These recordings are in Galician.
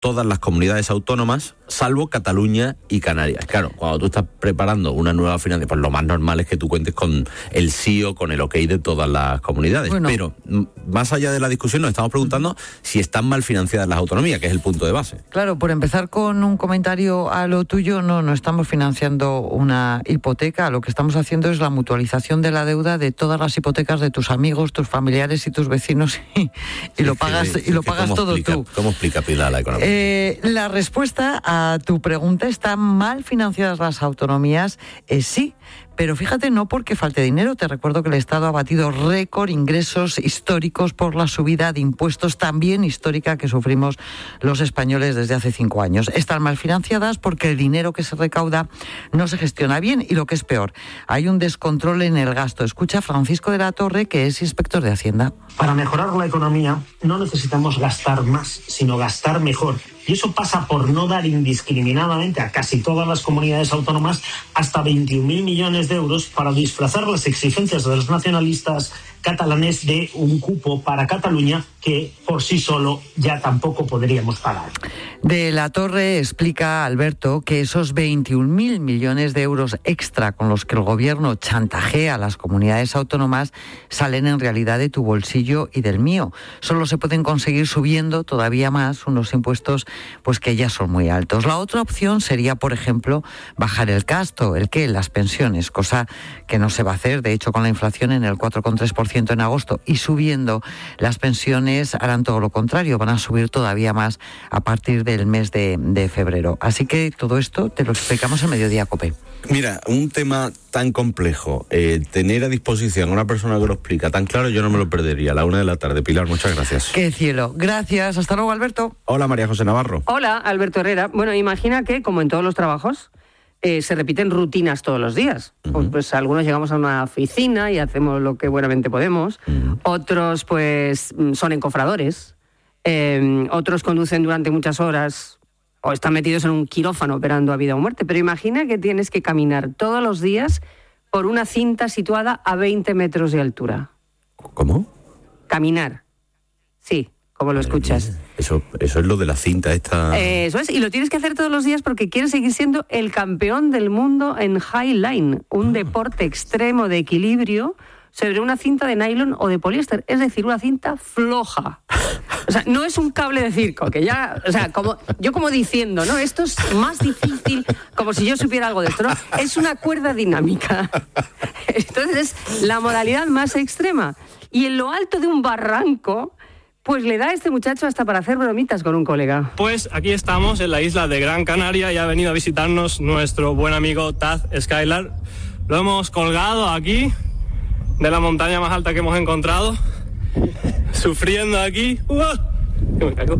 todas las comunidades autónomas, salvo Cataluña y Canarias. Claro, cuando tú estás preparando una nueva financiación, pues lo más normal es que tú cuentes con el sí o con el ok de todas las comunidades. Bueno, pero más allá de la discusión, nos estamos preguntando si están mal financiadas las autonomías, que es el punto de base. Claro, por empezar con un comentario a lo tuyo, no estamos financiando una hipoteca, lo que estamos haciendo es la mutualización de la deuda de todas las hipotecas de tus amigos, tus familiares y tus vecinos y lo pagas todo tú. ¿Cómo explica Pilar la economía? La respuesta a tu pregunta, ¿están mal financiadas las autonomías? Sí. Pero fíjate, no porque falte dinero. Te recuerdo que el Estado ha batido récord ingresos históricos por la subida de impuestos también histórica que sufrimos los españoles desde hace 5 años. Están mal financiadas porque el dinero que se recauda no se gestiona bien y, lo que es peor, hay un descontrol en el gasto. Escucha a Francisco de la Torre, que es inspector de Hacienda. Para mejorar la economía no necesitamos gastar más, sino gastar mejor. Y eso pasa por no dar indiscriminadamente a casi todas las comunidades autónomas hasta 21.000 millones de euros para disfrazar las exigencias de los nacionalistas catalanes de un cupo para Cataluña que por sí solo ya tampoco podríamos pagar. De la Torre explica, Alberto, que esos 21.000 millones de euros extra con los que el gobierno chantajea a las comunidades autónomas salen en realidad de tu bolsillo y del mío. Solo se pueden conseguir subiendo todavía más unos impuestos pues que ya son muy altos. La otra opción sería, por ejemplo, bajar el gasto, las pensiones, cosa que no se va a hacer. De hecho, con la inflación en el 4,3% en agosto y subiendo, las pensiones harán todo lo contrario, van a subir todavía más a partir del mes de febrero. Así que todo esto te lo explicamos en Mediodía COPE. Mira, un tema tan complejo, tener a disposición a una persona que lo explica tan claro, yo no me lo perdería. A la 1:00 p.m. Pilar, muchas gracias. ¡Qué cielo! Gracias. Hasta luego, Alberto. Hola, María José Navarro. Hola, Alberto Herrera. Bueno, imagina que, como en todos los trabajos, se repiten rutinas todos los días. Uh-huh. Pues algunos llegamos a una oficina y hacemos lo que buenamente podemos. Uh-huh. Otros, pues, son encofradores. Otros conducen durante muchas horas o están metidos en un quirófano operando a vida o muerte. Pero imagina que tienes que caminar todos los días por una cinta situada a 20 metros de altura. ¿Cómo? Caminar. Sí, como lo escuchas. Eso es lo de la cinta esta. Eso es, y lo tienes que hacer todos los días porque quieres seguir siendo el campeón del mundo en highline, un deporte extremo de equilibrio sobre una cinta de nylon o de poliéster, es decir, una cinta floja. O sea, no es un cable de circo, que ya, o sea, como diciendo, ¿no? Esto es más difícil, como si yo supiera algo de esto, ¿no? Es una cuerda dinámica. Entonces es la modalidad más extrema. Y en lo alto de un barranco, pues le da a este muchacho hasta para hacer bromitas con un colega. Pues aquí estamos en la isla de Gran Canaria y ha venido a visitarnos nuestro buen amigo Taz Skylar. Lo hemos colgado aquí de la montaña más alta que hemos encontrado, sufriendo aquí. Que me caigo.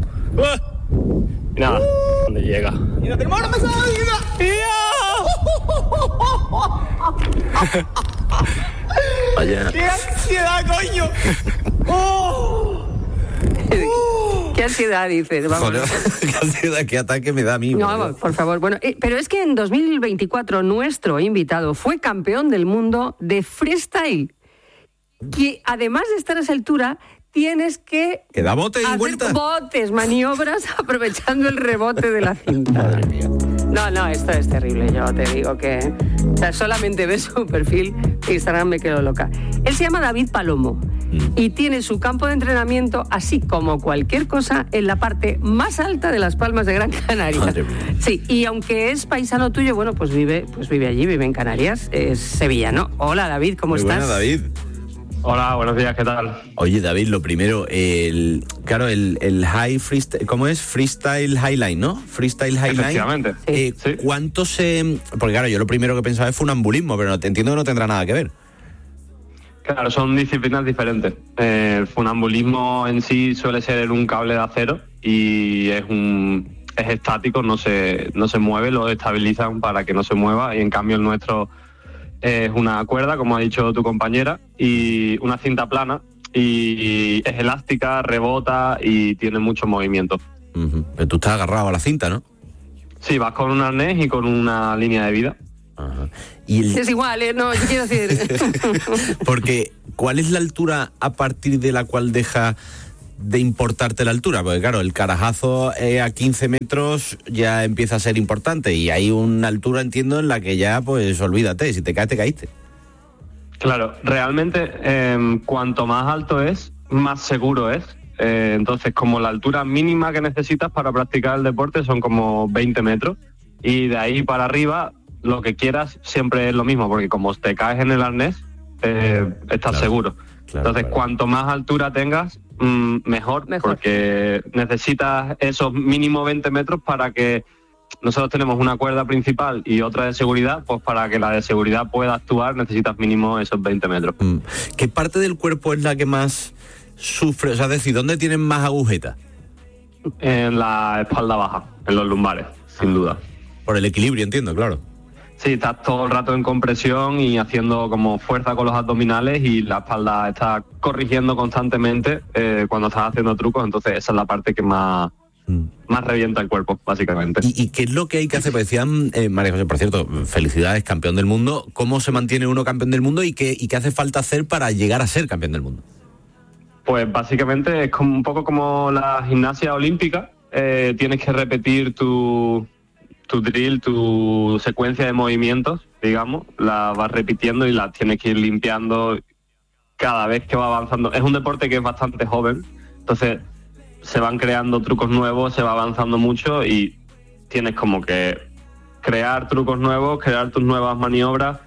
Y nada, ¿dónde llega? ¡Y no tenemos una mesa de vida! Vaya. ¡Qué ansiedad, coño! ¿Qué ansiedad dices? Joder, qué ansiedad, qué ataque me da a mí. No, por favor. Bueno, pero es que en 2024 nuestro invitado fue campeón del mundo de freestyle. Que además de estar a esa altura, tienes que da bote y hacer vuelta. botes, maniobras, aprovechando el rebote de la cinta. Madre mía. No, esto es terrible, yo te digo que... O sea, solamente ves su perfil de Instagram, me quedo loca. Él se llama David Palomo y tiene su campo de entrenamiento, así como cualquier cosa, en la parte más alta de las Palmas de Gran Canaria. Madre mía. Sí, y aunque es paisano tuyo, bueno, pues vive allí, vive en Canarias, es sevillano. Hola, David, ¿cómo estás? Buena, David. Hola, buenos días, ¿qué tal? Oye, David, lo primero, el high freestyle, ¿cómo es? Freestyle highline, ¿no? Freestyle highline. Efectivamente. Sí. ¿Cuánto porque claro, yo lo primero que pensaba es funambulismo, pero entiendo que no tendrá nada que ver. Claro, son disciplinas diferentes. El funambulismo en sí suele ser en un cable de acero y es estático, no se mueve, lo estabilizan para que no se mueva, y en cambio el nuestro es una cuerda, como ha dicho tu compañera, y una cinta plana, y es elástica, rebota y tiene mucho movimiento. Uh-huh. Pero tú estás agarrado a la cinta, ¿no? Sí, vas con un arnés y con una línea de vida. Uh-huh. Es igual, no, yo quiero decir... Porque, ¿cuál es la altura a partir de la cual deja de importarte la altura, porque claro, el carajazo a 15 metros ya empieza a ser importante y hay una altura, entiendo, en la que ya, pues olvídate, si te caes, te caíste. Claro, realmente cuanto más alto es, más seguro es. Entonces, como la altura mínima que necesitas para practicar el deporte son como 20 metros, y de ahí para arriba lo que quieras siempre es lo mismo, porque como te caes en el arnés, estás seguro. Entonces, cuanto más altura tengas, mejor, porque necesitas esos mínimo 20 metros para que nosotros tenemos una cuerda principal y otra de seguridad, pues para que la de seguridad pueda actuar necesitas mínimo esos 20 metros. ¿Qué parte del cuerpo es la que más sufre? O sea, es decir, ¿dónde tienen más agujetas? En la espalda baja, en los lumbares, sin duda. Por el equilibrio, entiendo, claro. Sí, estás todo el rato en compresión y haciendo como fuerza con los abdominales y la espalda está corrigiendo constantemente cuando estás haciendo trucos, entonces esa es la parte que más revienta el cuerpo, básicamente. ¿Y qué es lo que hay que hacer? Pues decían, María José, por cierto, felicidades, campeón del mundo. ¿Cómo se mantiene uno campeón del mundo y qué hace falta hacer para llegar a ser campeón del mundo? Pues básicamente es como un poco como la gimnasia olímpica. Tienes que repetir tu drill, tu secuencia de movimientos, digamos, la vas repitiendo y la tienes que ir limpiando cada vez que va avanzando. Es un deporte que es bastante joven, entonces se van creando trucos nuevos, se va avanzando mucho y tienes como que crear trucos nuevos, crear tus nuevas maniobras,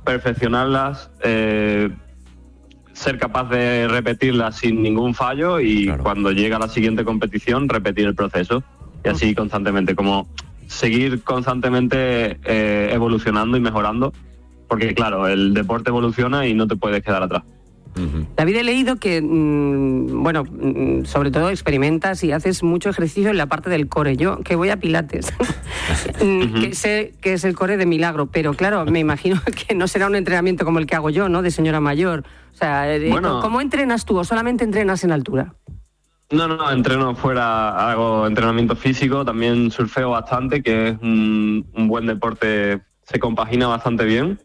perfeccionarlas, ser capaz de repetirlas sin ningún fallo y cuando llega la siguiente competición repetir el proceso y así constantemente, como seguir constantemente evolucionando y mejorando, porque claro, el deporte evoluciona y no te puedes quedar atrás. David, he leído que, sobre todo experimentas y haces mucho ejercicio en la parte del core. Yo, que voy a Pilates, que sé que es el core de milagro, pero claro, me imagino que no será un entrenamiento como el que hago yo, ¿no?, de señora mayor. O sea, ¿cómo entrenas tú o solamente entrenas en altura? No, entreno fuera, hago entrenamiento físico, también surfeo bastante, que es un buen deporte, se compagina bastante bien.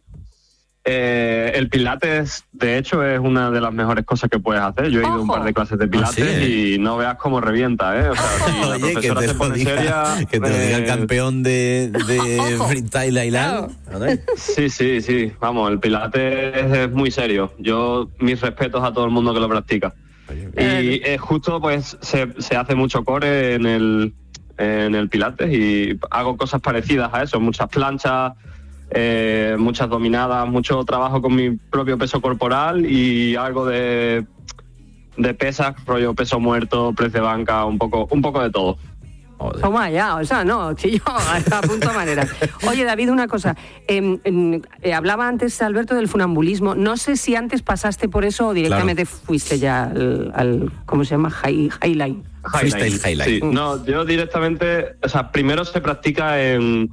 El pilates, de hecho, es una de las mejores cosas que puedes hacer. Yo he ido a un par de clases de pilates y no veas cómo revienta, ¿eh? O sea, si la profesora se pone seria... Que te lo diga el campeón de freestyle Ailan. Sí. Vamos, el pilates es muy serio. Mis respetos a todo el mundo que lo practica. Y justo pues se hace mucho core en el pilates y hago cosas parecidas a eso, muchas planchas, muchas dominadas, mucho trabajo con mi propio peso corporal y algo de pesas, rollo peso muerto, press de banca, un poco de todo. Toma ya, o sea, no, chillo, a punto de manera. Oye, David, una cosa. Hablaba antes, Alberto, del funambulismo. No sé si antes pasaste por eso o directamente fuiste ya al ¿cómo se llama? Highline. Highline. Sí. No, yo directamente, o sea, primero se practica en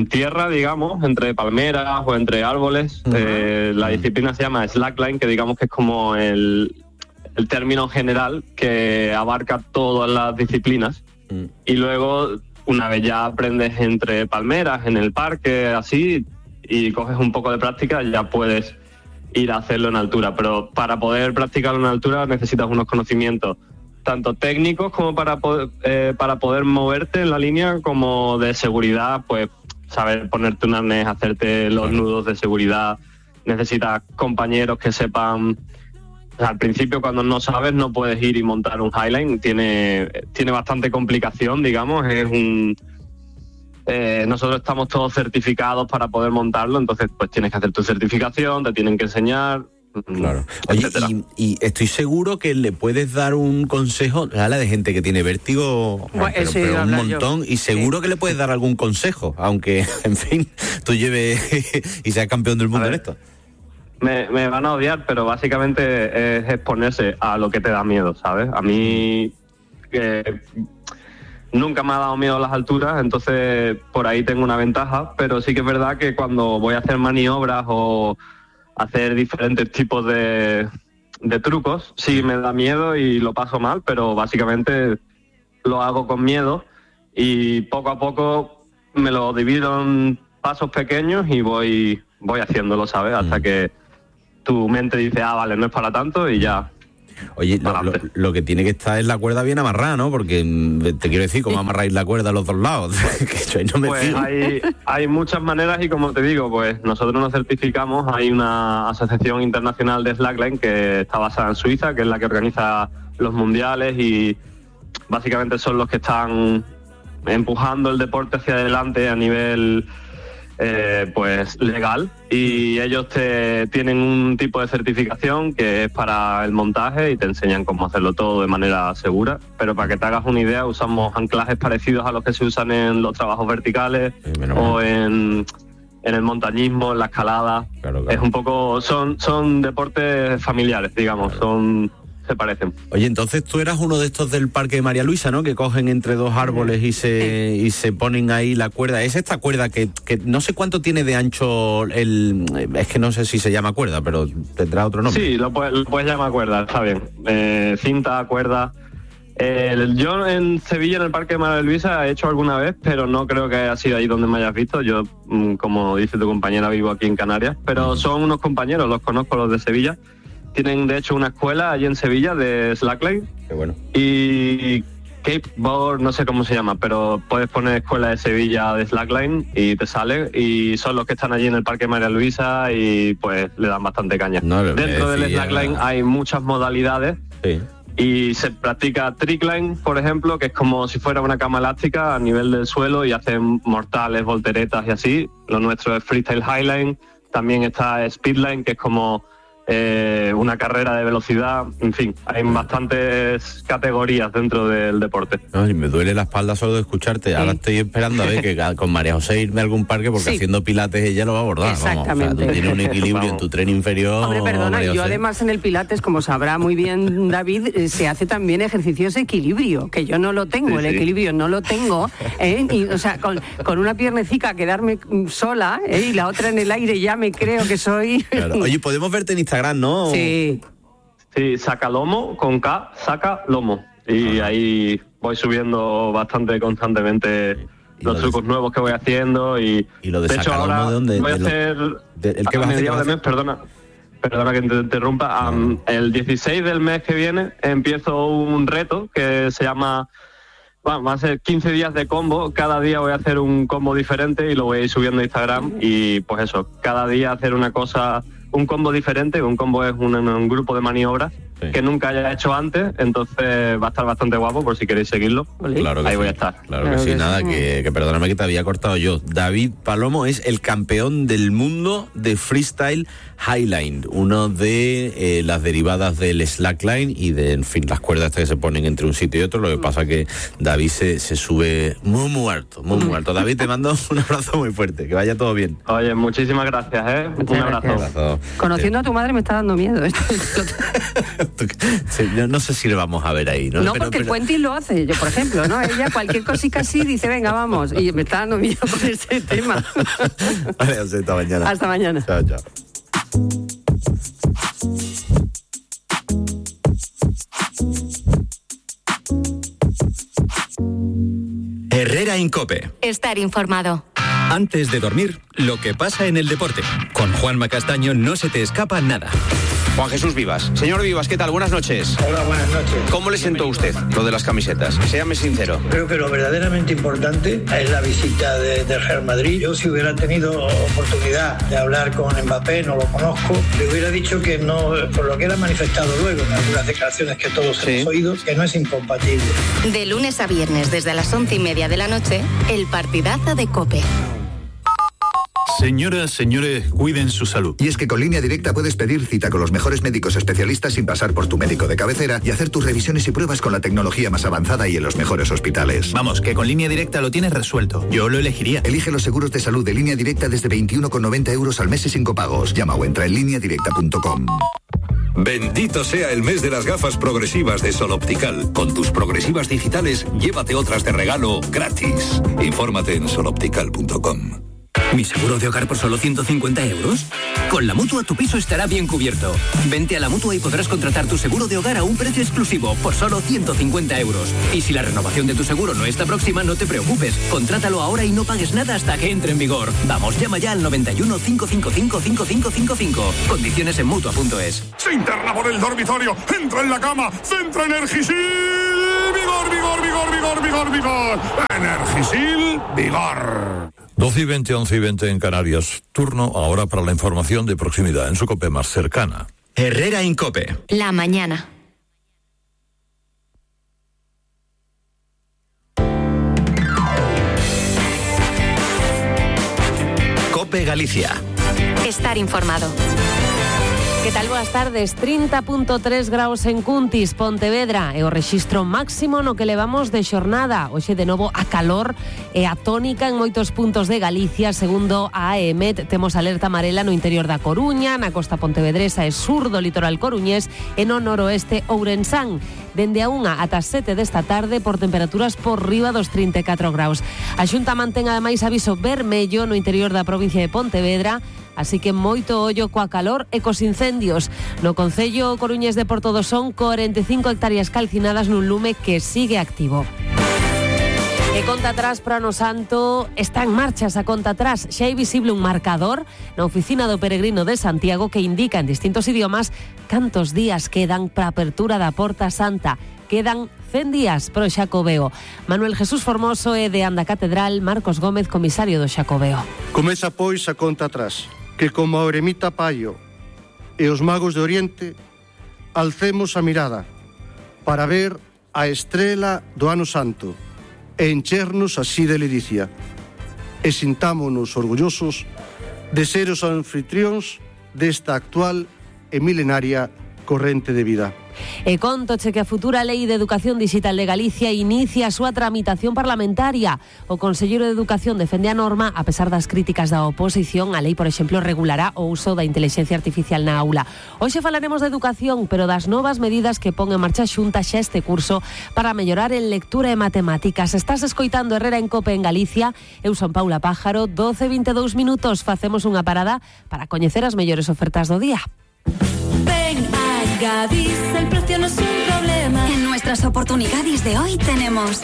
tierra, digamos, entre palmeras o entre árboles. La disciplina se llama slackline, que digamos que es como el término general que abarca todas las disciplinas. Y luego, una vez ya aprendes entre palmeras, en el parque, así, y coges un poco de práctica, ya puedes ir a hacerlo en altura. Pero para poder practicarlo en altura necesitas unos conocimientos tanto técnicos como para poder moverte en la línea, como de seguridad, pues saber ponerte un arnés, hacerte los nudos de seguridad. Necesitas compañeros que sepan... O sea, al principio, cuando no sabes, no puedes ir y montar un highline. Tiene bastante complicación, digamos. Nosotros estamos todos certificados para poder montarlo, entonces pues tienes que hacer tu certificación, te tienen que enseñar. Claro. Oye, y estoy seguro que le puedes dar un consejo a la de gente que tiene vértigo, pero un montón, y seguro que le puedes dar algún consejo, aunque, en fin, tú lleves y seas campeón del mundo en esto. Me van a odiar, pero básicamente es exponerse a lo que te da miedo, ¿sabes? A mí nunca me ha dado miedo a las alturas, entonces por ahí tengo una ventaja, pero sí que es verdad que cuando voy a hacer maniobras o hacer diferentes tipos de trucos, sí me da miedo y lo paso mal, pero básicamente lo hago con miedo y poco a poco me lo divido en pasos pequeños y voy haciéndolo, ¿sabes? Hasta que tu mente dice, vale, no es para tanto y ya Oye, lo que tiene que estar es la cuerda bien amarrada, ¿no? Porque te quiero decir, ¿cómo amarráis la cuerda a los dos lados? Que yo no me pues hay muchas maneras y como te digo, pues nosotros nos certificamos. Hay una asociación internacional de slackline que está basada en Suiza, que es la que organiza los mundiales y básicamente son los que están empujando el deporte hacia adelante a nivel pues legal, y ellos tienen un tipo de certificación que es para el montaje y te enseñan cómo hacerlo todo de manera segura, pero para que te hagas una idea usamos anclajes parecidos a los que se usan en los trabajos verticales o en el montañismo, en la escalada. Claro. Es un poco, son deportes familiares, digamos, se parecen. Oye, entonces tú eras uno de estos del Parque de María Luisa, ¿no? Que cogen entre dos árboles y se ponen ahí la cuerda. Es esta cuerda que no sé cuánto tiene de ancho es que no sé si se llama cuerda, pero tendrá otro nombre. Sí, lo puedes llamar cuerda, está bien. Cinta, cuerda. Yo en Sevilla, en el Parque de María Luisa, he hecho alguna vez, pero no creo que haya sido ahí donde me hayas visto. Yo, como dice tu compañera, vivo aquí en Canarias, pero son unos compañeros, los conozco, los de Sevilla. Tienen, de hecho, una escuela allí en Sevilla de slackline. Qué bueno. Y skateboard, no sé cómo se llama, pero puedes poner Escuela de Sevilla de slackline y te sale. Y son los que están allí en el Parque María Luisa y pues le dan bastante caña. Dentro del slackline hay muchas modalidades. Sí. Y se practica trickline, por ejemplo, que es como si fuera una cama elástica a nivel del suelo y hacen mortales, volteretas y así. Lo nuestro es freestyle highline. También está speedline, que es como una carrera de velocidad. En fin, hay bastantes categorías dentro del deporte. Ay, me duele la espalda solo de escucharte. Sí. Ahora estoy esperando a ver que con María José irme a algún parque, porque haciendo pilates ella lo va a abordar. Exactamente. Vamos, o sea, tú tienes un equilibrio en tu tren inferior. Hombre, perdona, yo además en el pilates, como sabrá muy bien David, se hace también ejercicios de equilibrio, que yo no lo tengo, el equilibrio no lo tengo. Y, o sea, con una piernecica quedarme sola y la otra en el aire ya me creo que soy... Claro. Oye, podemos verte en Instagram, ¿no? Sí. Sí, Sacalomo, con K, Sacalomo. Y ahí voy subiendo bastante constantemente los trucos nuevos que voy haciendo. Y lo de hecho, ahora ¿de dónde? Voy a hacer... ¿El que vas a hacer? De mes, perdona que te interrumpa. El 16 del mes que viene empiezo un reto que se llama... va a ser 15 días de combo. Cada día voy a hacer un combo diferente y lo voy a ir subiendo a Instagram. Y pues eso, cada día hacer una cosa... un combo diferente. Un combo es un grupo de maniobras que nunca haya hecho antes, entonces va a estar bastante guapo por si queréis seguirlo. Claro que ahí sí. Voy a estar. Claro que sí, nada, que perdóname que te había cortado yo. David Palomo es el campeón del mundo de freestyle highline, uno de las derivadas del slackline y de, en fin, las cuerdas que se ponen entre un sitio y otro. Lo que pasa que David se sube muy alto. David, te mando un abrazo muy fuerte, que vaya todo bien. Oye, muchísimas gracias, Muchas un abrazo. Conociendo a tu madre me está dando miedo esto. Sí, no sé si le vamos a ver ahí, ¿no? No, porque el Puentis lo hace, yo por ejemplo, ¿no? Ella cualquier cosita así dice, venga, vamos, y me está dando miedo con ese tema. Vale, hasta mañana. Hasta mañana. Chao. Herrera en COPE. Estar informado. Antes de dormir, lo que pasa en el deporte. Con Juanma Castaño no se te escapa nada. Juan Jesús Vivas. Señor Vivas, ¿qué tal? Buenas noches. Hola, buenas noches. ¿Cómo le sentó usted lo de las camisetas? Séame sincero. Creo que lo verdaderamente importante es la visita del Real Madrid. Yo, si hubiera tenido oportunidad de hablar con Mbappé, no lo conozco, le hubiera dicho que no, por lo que él ha manifestado luego en algunas declaraciones que todos hemos oído, que no es incompatible. De lunes a viernes, desde las 11:30 de la noche, el partidazo de COPE. Señoras, señores, cuiden su salud. Y es que con Línea Directa puedes pedir cita con los mejores médicos especialistas sin pasar por tu médico de cabecera y hacer tus revisiones y pruebas con la tecnología más avanzada y en los mejores hospitales. Vamos, que con Línea Directa lo tienes resuelto. Yo lo elegiría. Elige los seguros de salud de Línea Directa desde 21,90 euros al mes y sin copagos. Llama o entra en lineadirecta.com. Bendito sea el mes de las gafas progresivas de Sol Optical. Con tus progresivas digitales, llévate otras de regalo gratis. Infórmate en soloptical.com. ¿Mi seguro de hogar por solo 150 euros? Con la Mutua tu piso estará bien cubierto. Vente a la Mutua y podrás contratar tu seguro de hogar a un precio exclusivo por solo 150 euros. Y si la renovación de tu seguro no está próxima, no te preocupes. Contrátalo ahora y no pagues nada hasta que entre en vigor. Vamos, llama ya al 91 555 5555. Condiciones en Mutua.es. Se interna por el dormitorio, entra en la cama, centra Energisil. Vigor, vigor, vigor, vigor, vigor, vigor. Energisil, vigor. 12:20, 11:20 en Canarias. Turno ahora para la información de proximidad en su COPE más cercana. Herrera Incope. La mañana. COPE Galicia. Estar informado. Que tal? Boas tardes. 30.3 graus en Cuntis, Pontevedra, e o rexistro máximo no que levamos de xornada. Hoxe de novo a calor e a tónica en moitos puntos de Galicia. Segundo a AEMET, temos alerta amarela no interior da Coruña, na costa pontevedresa e sur do litoral coruñés e no noroeste ourensán. Dende a 1 ata 7 desta tarde por temperaturas por riba dos 34 graus. A Xunta mantén ademais aviso vermello no interior da provincia de Pontevedra, así que moito ollo coa calor e cos incendios. No concello coruñés de Porto son 45 hectáreas calcinadas nun lume que sigue activo. E conta atrás para Ano Santo, está en marcha esa conta atrás. Xa é visible un marcador na oficina do Peregrino de Santiago que indica en distintos idiomas cantos días quedan para a apertura da Porta Santa. Quedan 100 días pro Xacobeo. Manuel Jesús Formoso e de Anda Catedral, Marcos Gómez, comisario do Xacobeo. Comeza pois a conta atrás, que como a eremita Paio e os magos de Oriente alcemos a mirada para ver a estrela do Ano Santo e enchernos así de ledicia e sintámonos orgullosos de ser os anfitrións desta actual e milenaria corrente de vida. E contoche que a futura Lei de Educación Digital de Galicia inicia a súa tramitación parlamentaria. O Conselleiro de Educación defende a norma, a pesar das críticas da oposición. A lei, por exemplo, regulará o uso da inteligencia artificial na aula. Hoxe falaremos de educación, pero das novas medidas que pon en marcha a Xunta xa este curso para mellorar en lectura e matemáticas. Estás escoitando Herrera en Cope en Galicia. Eu son Paula Pájaro, 12:22 minutos. Facemos unha parada para coñecer as mellores ofertas do día. Ven a Gadis, el precio no es un problema. En nuestras oportunidades de hoy tenemos: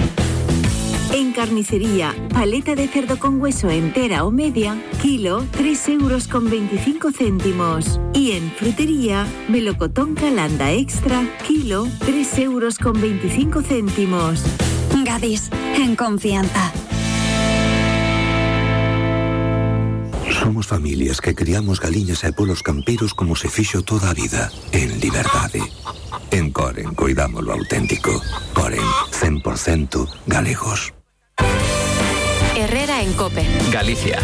en carnicería, paleta de cerdo con hueso entera o media, kilo, 3,25 €. Y en frutería, melocotón Calanda Extra, kilo, 3,25 €. Gadis, en confianza. Somos familias que criamos galiñas e polos campeiros como se fixo toda a vida, en liberdade. En Coren cuidamos lo auténtico. Coren, 100% galegos. Herrera en Cope. Galicia.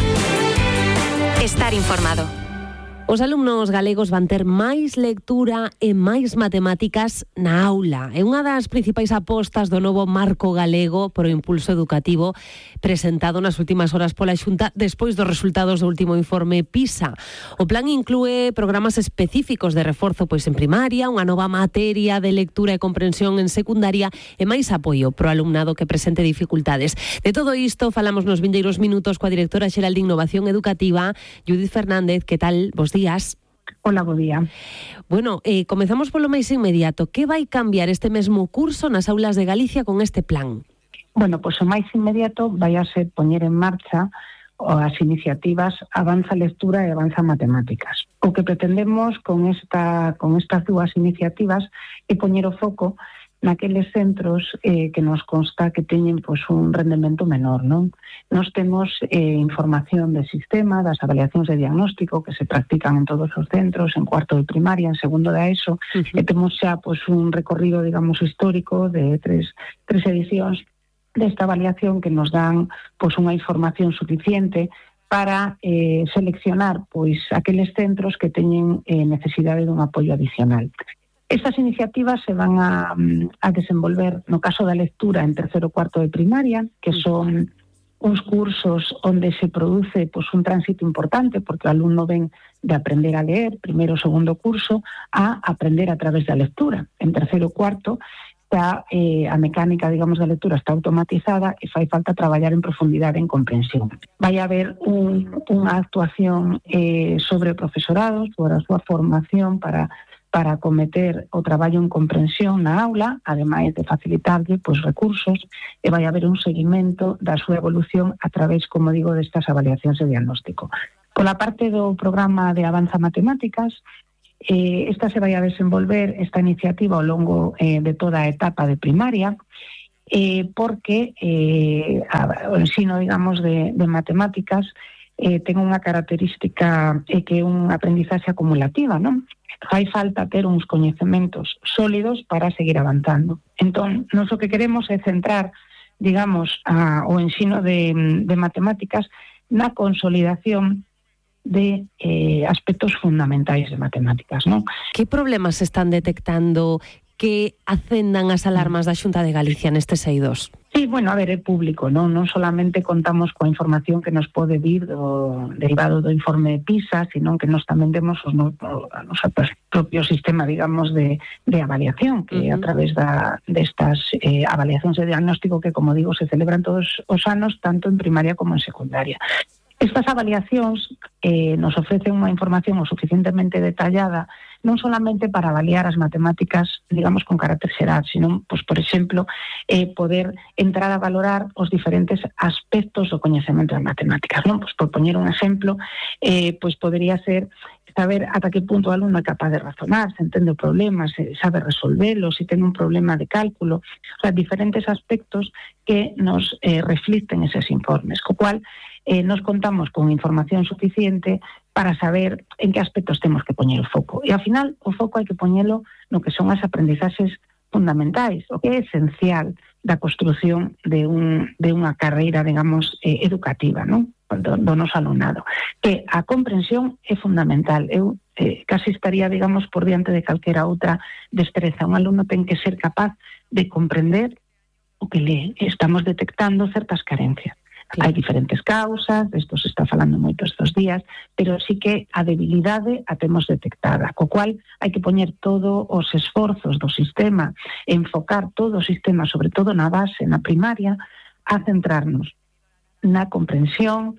Estar informado. Os alumnos galegos van ter máis lectura e máis matemáticas na aula. É unha das principais apostas do novo marco galego pro impulso educativo presentado nas últimas horas pola Xunta despois dos resultados do último informe PISA. O plan inclúe programas específicos de reforzo pois en primaria, unha nova materia de lectura e comprensión en secundaria e máis apoio pro alumnado que presente dificultades. De todo isto falamos nos vindeiros minutos coa directora xeral de Innovación Educativa, Judith Fernández. Que tal? Bos días. Hola, bo día. Bueno, comezamos polo máis inmediato. Que vai cambiar este mesmo curso nas aulas de Galicia con este plan? Bueno, pois o máis inmediato vai a ser poñer en marcha as iniciativas Avanza Lectura e Avanza Matemáticas. O que pretendemos con estas dúas iniciativas é poñer o foco naqueles centros que nos consta que teñen pois, un rendemento menor, non? Nos temos información de sistema, das avaliacións de diagnóstico que se practican en todos os centros, en cuarto de primaria, en segundo de ESO, e temos xa pois, un recorrido, digamos, histórico de tres edicións desta avaliación que nos dan pois, unha información suficiente para seleccionar pois, aqueles centros que teñen necesidade dun apoio adicional. Estas iniciativas se van a desenvolver no caso da lectura en terceiro e cuarto de primaria, que son uns cursos onde se produce pois, un tránsito importante, porque o alumno ven de aprender a leer, primeiro o segundo curso, a aprender a través da lectura. En terceiro e cuarto, xa a mecánica, digamos, da lectura está automatizada e fai falta traballar en profundidade en comprensión. Vai haber unha actuación sobre o profesorado, sobre a súa formación para acometer o traballo en comprensión na aula, ademais de facilitarlle recursos, e vai haber un seguimento da súa evolución a través, como digo, destas avaliacións de diagnóstico. Pola parte do programa de Avanza Matemáticas, esta se vai a desenvolver, esta iniciativa, ao longo de toda a etapa de primaria, porque o ensino, digamos, de matemáticas ten unha característica que é unha aprendizaxe acumulativa, non? Fai falta ter uns coñecementos sólidos para seguir avanzando. Entón, nós o que queremos é centrar, digamos, o ensino de matemáticas na consolidación de aspectos fundamentais de matemáticas, non? Que problemas se están detectando que acendan as alarmas da Xunta de Galicia nestes eidos? Sí, bueno, a ver, é público, non solamente contamos coa información que nos pode vir derivado do informe de PISA, sino que nos tamén demos o noso propio sistema, digamos, de avaliación, que a través destas avaliacións de diagnóstico que, como digo, se celebran todos os anos, tanto en primaria como en secundaria. Estas avaliacións nos ofrecen unha información o suficientemente detallada, non solamente para avaliar as matemáticas, digamos, con carácter xeral, sino, por exemplo, poder entrar a valorar os diferentes aspectos do coñecemento de matemáticas, non? Por poñer un exemplo, podería ser saber ata que punto o alumno é capaz de razonar, se entende o problema, se sabe resolvelo, se ten un problema de cálculo, o sea, diferentes aspectos que nos reflicten eses informes, co cual nos contamos con información suficiente para saber en que aspectos temos que poñer o foco. E, ao final, o foco hai que poñelo no que son as aprendizaxes fundamentais, o que é esencial da construción de unha carreira, digamos, educativa, non? Do noso alumnado. Que a comprensión é fundamental. Eu casi estaría, digamos, por diante de calquera outra destreza. Un alumno ten que ser capaz de comprender o que lee. Estamos detectando certas carencias. Hai diferentes causas, isto se está falando moito estes días, pero sí que a debilidade a temos detectada, co cual hai que poñer todos os esforzos do sistema, enfocar todo o sistema, sobre todo na base, na primaria, a centrarnos na comprensión,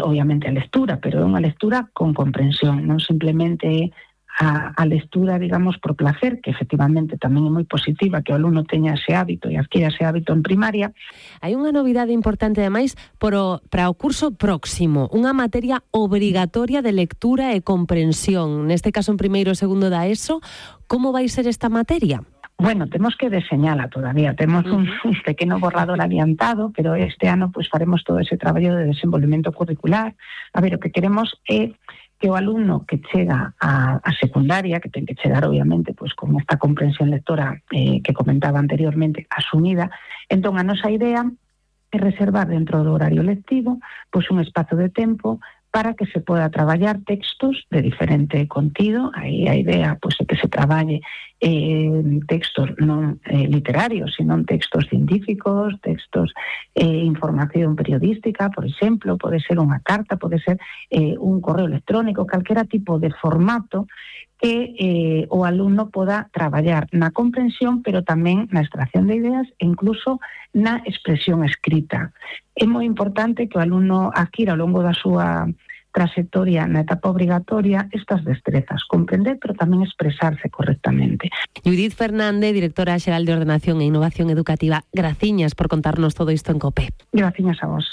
obviamente a lectura, pero é unha lectura con comprensión, non simplemente a lectura, digamos, por placer, que efectivamente tamén é moi positiva que o alumno teña ese hábito e adquira ese hábito en primaria. Hai unha novidade importante, ademais, para o curso próximo, unha materia obrigatoria de lectura e comprensión, neste caso en primeiro e segundo da ESO. Como vai ser esta materia? Bueno, temos que deseñala todavía, temos un pequeno borrador adiantado, pero este ano faremos todo ese traballo de desenvolvemento curricular. A ver, o que queremos é que o alumno que chega a secundaria, que ten que chegar obviamente con esta comprensión lectora que comentaba anteriormente asumida, entón a nosa idea é reservar dentro do horario lectivo un espazo de tempo para que se poda traballar textos de diferente contido. Aí a idea é que se traballe textos non literarios, sino textos científicos, textos información periodística, por exemplo, pode ser unha carta, pode ser un correo electrónico, calquera tipo de formato que o alumno poda traballar na comprensión, pero tamén na extracción de ideas e incluso na expresión escrita. É moi importante que o alumno adquira ao longo da súa trayectoria na etapa obrigatoria estas destrezas, comprender, pero tamén expresarse correctamente. Judith Fernández, directora xeral de Ordenación e Innovación Educativa, graciñas por contarnos todo isto en COPE. Graciñas a vos.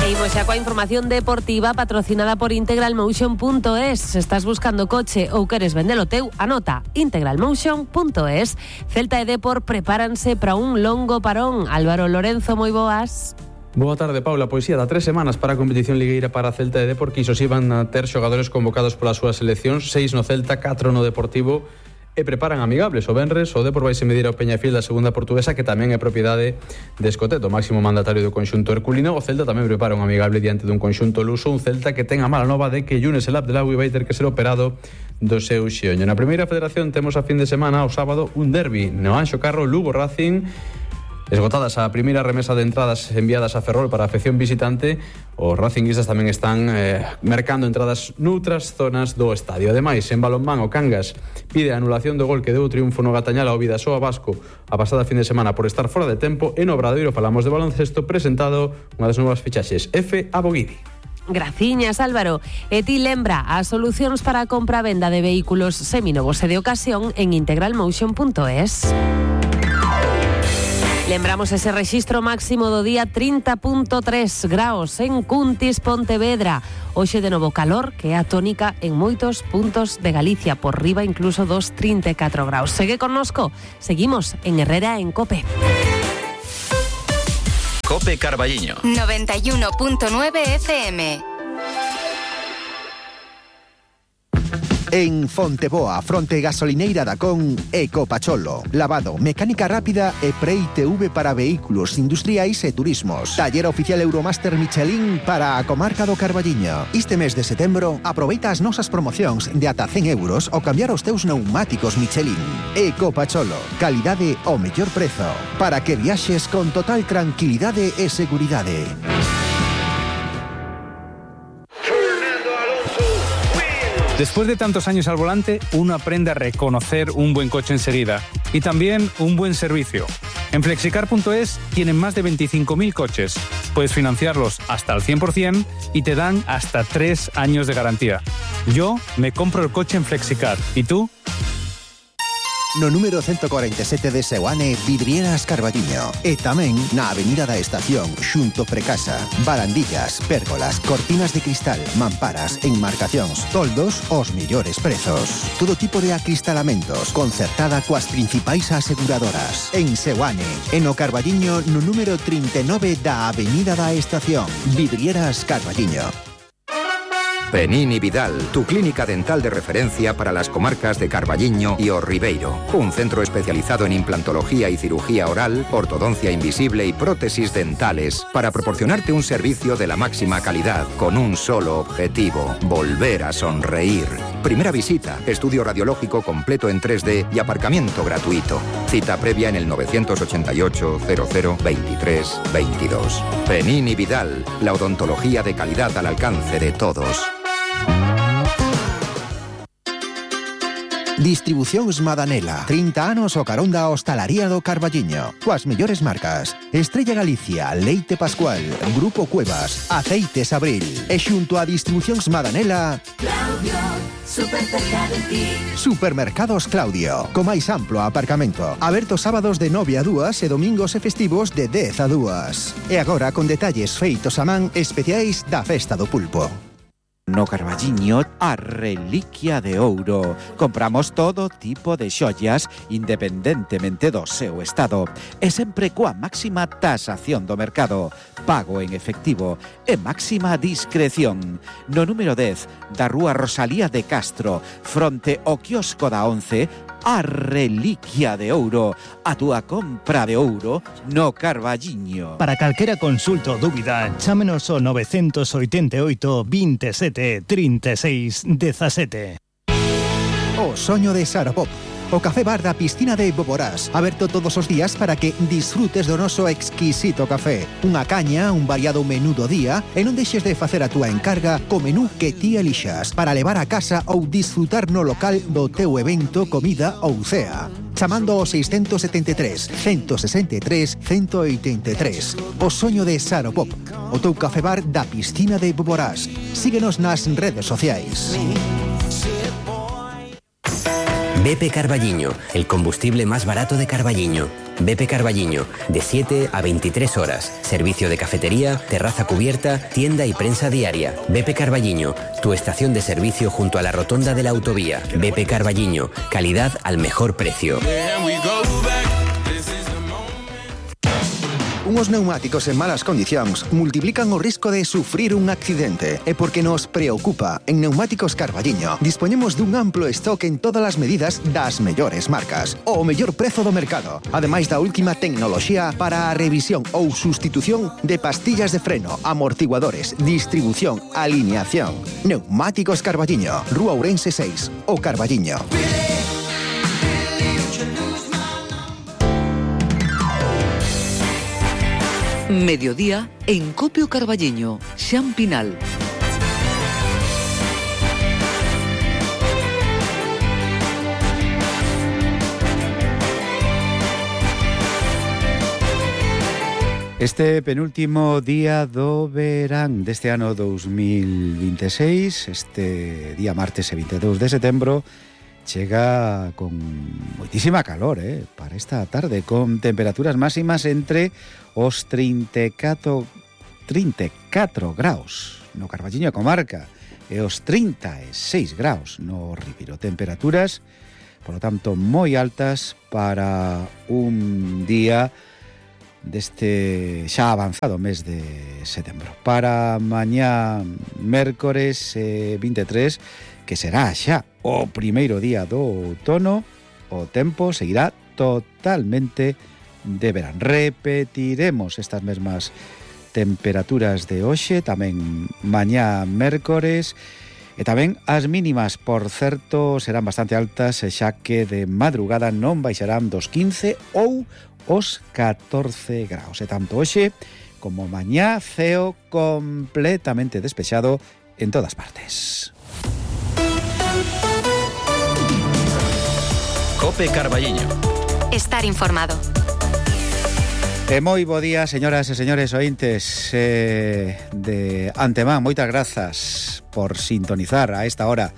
E imos xa coa información deportiva patrocinada por integralmotion.es. Se estás buscando coche ou queres vendelo teu, anota integralmotion.es. Celta e Depor prepáranse para un longo parón. Álvaro Lorenzo, moi boas. Boa tarde, Paula. Pois da 3 semanas para a competición ligueira para Celta e Depor, que iso si van a ter xogadores convocados polas súas seleccións, 6 no Celta, 4 no Deportivo, e preparan amigables. O venres o Depor vai se medir ao Peñafiel da segunda portuguesa, que tamén é propiedade de Escoteto, máximo mandatario do conxunto herculino. O Celta tamén prepara un amigable diante dun conxunto luso, un Celta que ten a mala nova de que Younes El Abdelawi vai ter que ser operado do seu xeonllo. Na primeira federación temos a fin de semana, o sábado, un derbi no Anxo Carro, Lugo Racing. Esgotadas a primeira remesa de entradas enviadas a Ferrol para a afección visitante, os racinguistas tamén están mercando entradas noutras zonas do estadio. Ademais, en balonmán, o Cangas pide a anulación do gol que deu o triunfo no Gatañal ao Vidasoa Vasco a pasada fin de semana por estar fora de tempo. E no Obradoiro falamos de baloncesto, presentado unha das novas fichaxes, F. Aboguidi. Graciñas, Álvaro. E ti lembra as solucións para a compra-venda de vehículos seminovos e de ocasión en integralmotion.es. Lembramos ese rexistro máximo do día, 30.3 graus en Cuntis, Pontevedra. Hoxe de novo calor, que é a tónica en moitos puntos de Galicia, por riba incluso dos 34 graus. Segue connosco, seguimos en Herrera en COPE. COPE Carballiño 91.9 FM. En Fonteboa, fronte gasolineira da Con, Ecopacholo. Lavado, mecánica rápida e pre-ITV para vehículos industriais e turismos. Taller oficial Euromaster Michelin para a comarca do Carballiño. Este mes de setembro, aproveita as nosas promocións de ata 100 euros ao cambiar os teus pneumáticos Michelin. Ecopacholo, calidade ao mellor prezo, para que viaxes con total tranquilidade e seguridade. Después de tantos años al volante, uno aprende a reconocer un buen coche enseguida y también un buen servicio. En Flexicar.es tienen más de 25.000 coches. Puedes financiarlos hasta al 100% y te dan hasta 3 años de garantía. Yo me compro el coche en Flexicar. ¿Y tú? No número 147 de Seoane, Vidrieras Carballiño. E tamén na Avenida da Estación, xunto Precasa. Barandillas, pérgolas, cortinas de cristal, mamparas, enmarcacións, toldos, os millores prezos. Todo tipo de acristalamentos, concertada coas principais aseguradoras. En Seoane, en o Carballiño, no número 39 da Avenida da Estación. Vidrieras Carballiño. Penini Vidal, tu clínica dental de referencia para las comarcas de Carballiño y O Ribeiro. Un centro especializado en implantología y cirugía oral, ortodoncia invisible y prótesis dentales para proporcionarte un servicio de la máxima calidad con un solo objetivo: volver a sonreír. Primera visita, estudio radiológico completo en 3D y aparcamiento gratuito. Cita previa en el 988 00 23 22. Penini Vidal, la odontología de calidad al alcance de todos. Distribucións Madanela, 30 anos o carón da hostalaría do Carballiño. Coas mellores marcas: Estrella Galicia, Leite Pascual, Grupo Cuevas, Aceites Abril. E xunto a Distribucións Madanela, Claudio, super cerca de ti. Supermercados Claudio, co máis amplo aparcamento. Aberto sábados de 9 a 2 e domingos e festivos de 10 a 2. E agora con detalles feitos a man especiais da Festa do Pulpo. No Carballiño, a reliquia de ouro. Compramos todo tipo de xollas independentemente do seu estado e sempre coa máxima tasación do mercado, pago en efectivo e máxima discreción. No número 10 da Rúa Rosalía de Castro, fronte ao quiosco da 11, a reliquia de ouro, a túa compra de ouro no Carballiño. Para calquera consulta ou dúbida, chámenos ao 988 27 36 17. O soño de Saropop, o café bar da piscina de Boborás, aberto todos os días para que disfrutes do noso exquisito café. Unha caña, un variado menú do día, e non deixes de facer a túa encarga co menú que ti elixas para levar a casa ou disfrutar no local do teu evento, comida ou cea. Chamando ao 673 163 183. O soño de Saropop, o teu café bar da piscina de Boborás. Síguenos nas redes sociais. BP Carballiño, el combustible más barato de Carballiño. BP Carballiño, de 7 a 23 horas. Servicio de cafetería, terraza cubierta, tienda y prensa diaria. BP Carballiño, tu estación de servicio junto a la rotonda de la autovía. BP Carballiño, calidad al mejor precio. Unos neumáticos en malas condicións multiplican o risco de sufrir un accidente. E porque nos preocupa, en Neumáticos Carballiño dispoñemos dun amplo stock en todas as medidas das mellores marcas, o mellor prezo do mercado, ademais da última tecnoloxía para a revisión ou sustitución de pastillas de freno, amortiguadores, distribución, alineación. Neumáticos Carballiño, Rúa Ourense 6, o Carballiño. Mediodía en Copio Carballiño, Xan Pinal. Este penúltimo día do verán deste ano 2026, este día martes e 22 de setembro, chega con moitísima calor, para esta tarde, con temperaturas máximas entre os 34 graus no Carballiño e Comarca e os 36 graus no Ribiro. Temperaturas, por lo tanto, moi altas para un día deste xa avanzado mes de setembro. Para mañá mércores 23, que será xa o primeiro día do outono, o tempo seguirá totalmente de verán. Repetiremos estas mesmas temperaturas de hoxe, tamén mañá mércores, e tamén as mínimas, por certo, serán bastante altas, xa que de madrugada non baixarán dos 15 ou os 14 graus. E tanto hoxe como mañá, ceo completamente despexado en todas partes. Cope Carballiño. Estar informado. E moi bo día, señoras e señores ointes. De antemán, moitas grazas por sintonizar a esta hora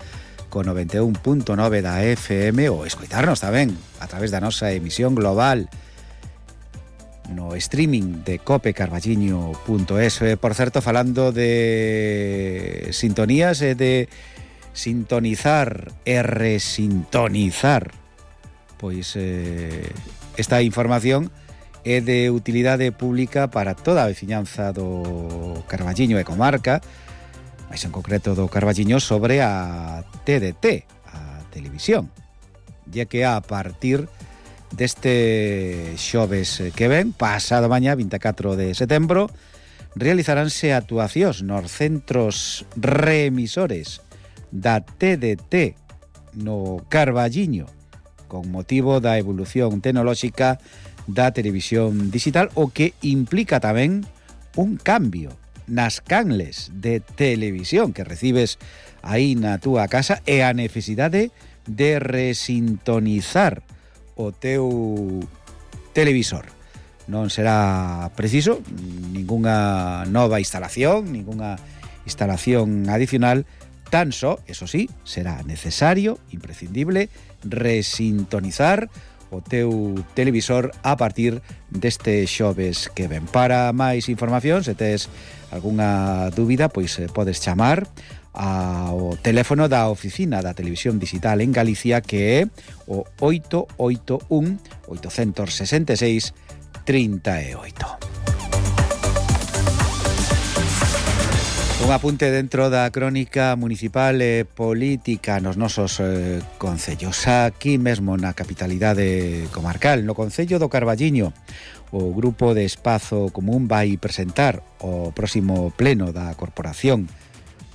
con 91.9 da FM ou escoitarnos tamén a través da nosa emisión global no streaming de copecarballiño.es. Por certo, falando de sintonías e de sintonizar e resintonizar, pois esta información é de utilidade pública para toda a veciñanza do Carballiño e Comarca, máis en concreto do Carballiño, sobre a TDT, a televisión, ya que a partir deste xoves que ven, pasado mañá, 24 de setembro, realizaránse actuacións nos centros reemisores da TDT no Carballiño con motivo da evolución tecnolóxica da televisión digital, o que implica tamén un cambio nas canles de televisión que recibes aí na túa casa e a necesidade de resintonizar o teu televisor. Non será preciso ningunha nova instalación, ningunha instalación adicional, tan só, eso sí, será necesario, imprescindible, resintonizar o teu televisor a partir deste xoves que ven. Para máis información, se tes algunha dúbida, pois podes chamar ao teléfono da Oficina da Televisión Digital en Galicia, que é o 881 866 38. Un apunte dentro da crónica municipal e política nos nosos concellos. Aquí mesmo na capitalidade comarcal, no concello do Carballiño, o Grupo de Espazo Común vai presentar o próximo pleno da Corporación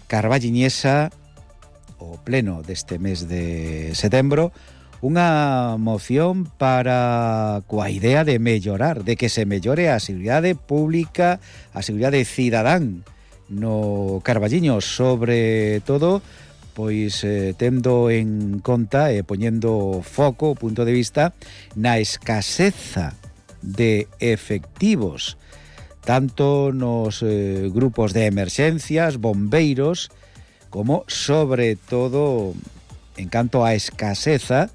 Carballiñesa, o pleno deste mes de setembro, unha moción para coa idea de mellorar, de que se mellore a seguridade pública, a seguridade cidadán no Carballiño, sobre todo pois tendo en conta e poñendo foco, punto de vista, na escaseza de efectivos, tanto nos grupos de emerxencias, bombeiros, como sobre todo en canto a escaseza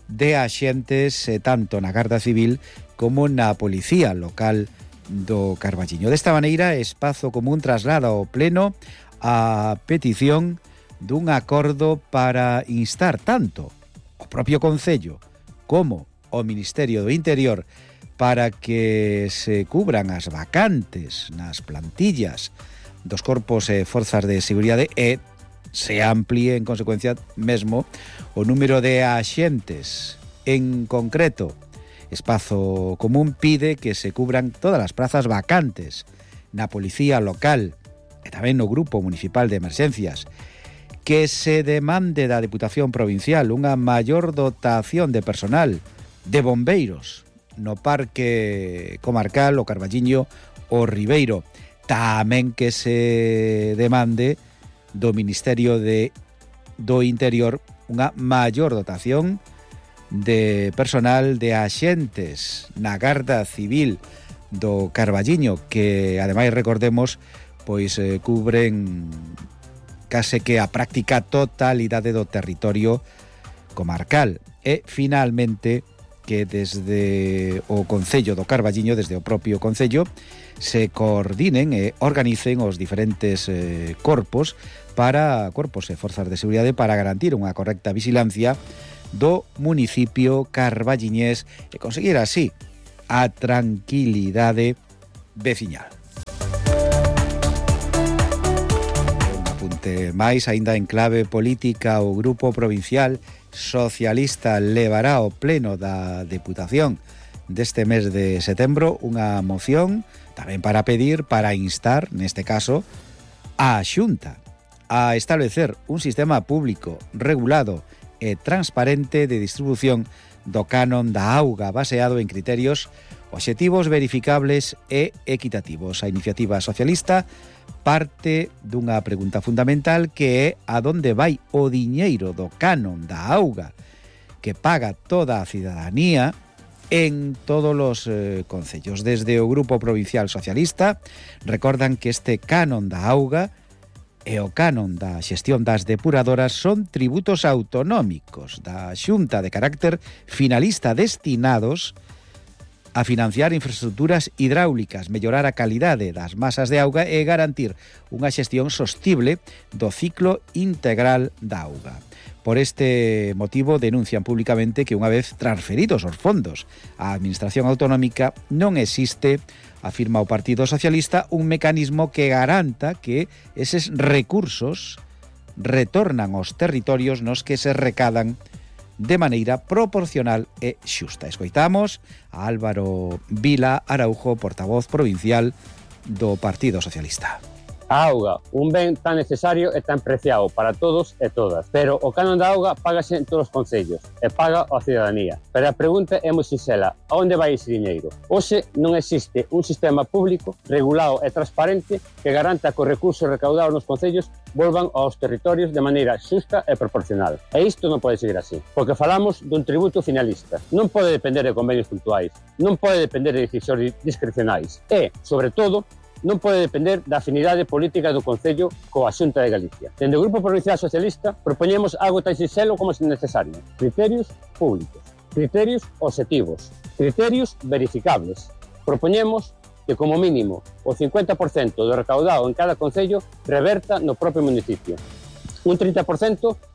de axentes tanto na Garda Civil como na Policía Local do Carballiño. Desta maneira, Espazo Común traslada ao pleno a petición dun acordo para instar tanto o propio Concello como o Ministerio do Interior para que se cubran as vacantes nas plantillas dos corpos e forzas de seguridade e se amplíe en consecuencia mesmo o número de axentes. En concreto, Espazo Común pide que se cubran todas as prazas vacantes na Policía Local e tamén no Grupo Municipal de Emerxencias, que se demande da Deputación Provincial unha maior dotación de personal, de bombeiros no Parque Comarcal o Carballiño o Ribeiro. Tamén que se demande do Ministerio do Interior unha maior dotación de personal de axentes na Garda Civil do Carballiño, que ademais recordemos pois cubren case que a práctica totalidade do territorio comarcal. E finalmente que desde o Concello do Carballiño, desde o propio Concello, se coordinen e organicen os diferentes corpos e forzas de seguridade para garantir unha correcta vigilancia do municipio carballiñés e conseguir así a tranquilidade veciñal. Un apunte máis, aínda en clave política, o Grupo Provincial Socialista levará ao pleno da Deputación deste mes de setembro unha moción tamén para instar, neste caso, a Xunta a establecer un sistema público, regulado e transparente de distribución do canon da auga baseado en criterios obxectivos, verificables e equitativos. A iniciativa socialista parte dunha pregunta fundamental que é a donde vai o diñeiro do canon da auga que paga toda a cidadanía en todos os concellos. Desde o Grupo Provincial Socialista recordan que este canon da auga e o canon da xestión das depuradoras son tributos autonómicos da Xunta de carácter finalista destinados a financiar infraestructuras hidráulicas, mellorar a calidade das masas de auga e garantir unha xestión sostible do ciclo integral da auga. Por este motivo denuncian públicamente que unha vez transferidos os fondos á Administración Autonómica non existe, afirma o Partido Socialista, un mecanismo que garanta que eses recursos retornan aos territorios nos que se recadan de maneira proporcional e xusta. Escoitamos a Álvaro Vila Araujo, portavoz provincial do Partido Socialista. A auga, un ben tan necesario e tan preciado para todos e todas, pero o canon da auga págase en todos os concellos e paga a cidadanía. Pero a pregunta é moi sinxela, a onde vai ese diñeiro? Hoxe non existe un sistema público regulado e transparente que garanta que os recursos recaudados nos concellos volvan aos territorios de maneira xusta e proporcional. E isto non pode seguir así, porque falamos dun tributo finalista. Non pode depender de convenios puntuais, non pode depender de decisións discrecionais e, sobre todo, non pode depender da afinidade política do Concello coa Xunta de Galicia. Dende o Grupo Provincial Socialista propoñemos algo tan sinxelo como se necesario. Criterios públicos, criterios obxectivos, criterios verificables. Propoñemos que como mínimo o 50% do recaudado en cada concello reverta no propio municipio. Un 30%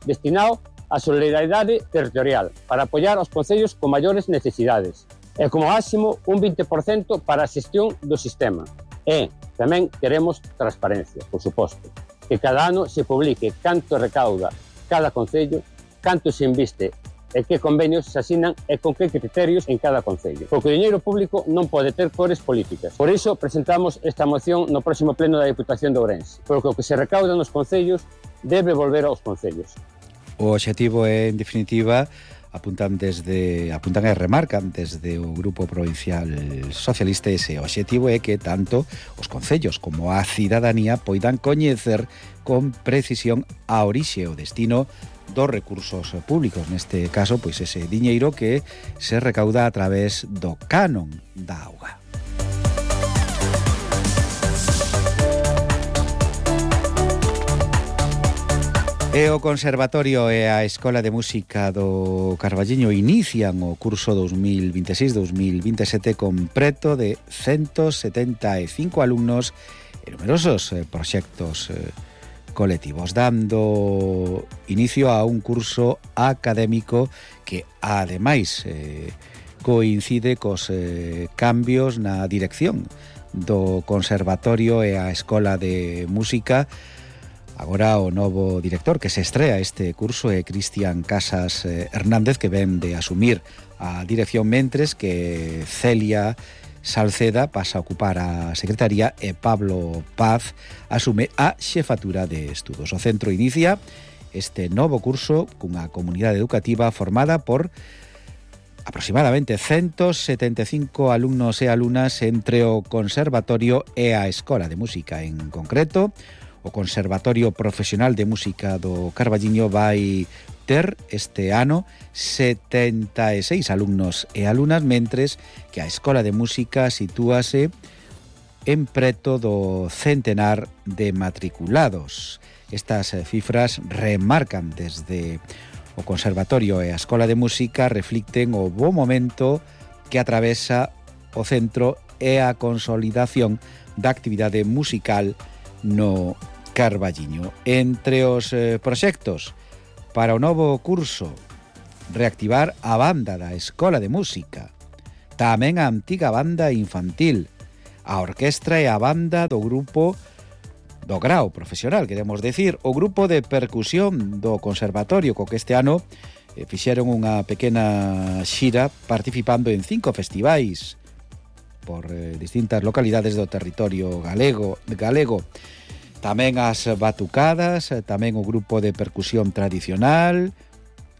destinado á solidariedade territorial para apoiar aos concellos con maiores necesidades. E como máximo un 20% para a xestión do sistema. E tamén queremos transparencia, por suposto, que cada ano se publique canto recauda cada concello, canto se inviste e que convenios se asinan e con que criterios en cada concello. Porque o diñeiro público non pode ter cores políticas. Por iso presentamos esta moción no próximo pleno da Deputación de Ourense, porque o que se recauda nos concellos debe volver aos concellos. O obxectivo é, en definitiva, apuntan e remarcan desde o Grupo Provincial Socialista ese obxectivo é que tanto os concellos como a cidadanía poidan coñecer con precisión a orixe e o destino dos recursos públicos, neste caso, pois ese diñeiro que se recauda a través do canon da auga. E o Conservatorio e a Escola de Música do Carballiño inician o curso 2026-2027 con preto de 175 alumnos e numerosos proxectos colectivos, dando inicio a un curso académico que, ademais, coincide cos cambios na dirección do Conservatorio e a Escola de Música. Agora o novo director que se estrea este curso é Cristian Casas Hernández, que ven de asumir a dirección, mentres que Celia Salceda pasa a ocupar a secretaría e Pablo Paz asume a xefatura de estudos. O centro inicia este novo curso cunha comunidade educativa formada por aproximadamente 175 alumnos e alumnas entre o Conservatorio e a Escola de Música en concreto. O Conservatorio Profesional de Música do Carballiño vai ter este ano 76 alumnos e alumnas, mentres que a Escola de Música sitúase en preto do centenar de matriculados. Estas cifras remarcan desde o Conservatorio e a Escola de Música reflicten o bo momento que atravesa o centro e a consolidación da actividade musical no Carballiño. Entre os proxectos para o novo curso, reactivar a banda da Escola de Música, tamén a antiga banda infantil, a orquestra e a banda do grupo do grao profesional, queremos decir, o grupo de percusión do Conservatorio, co que este ano fixeron unha pequena xira participando en 5 festivais por distintas localidades do territorio galego. Tamén as batucadas, tamén o grupo de percusión tradicional,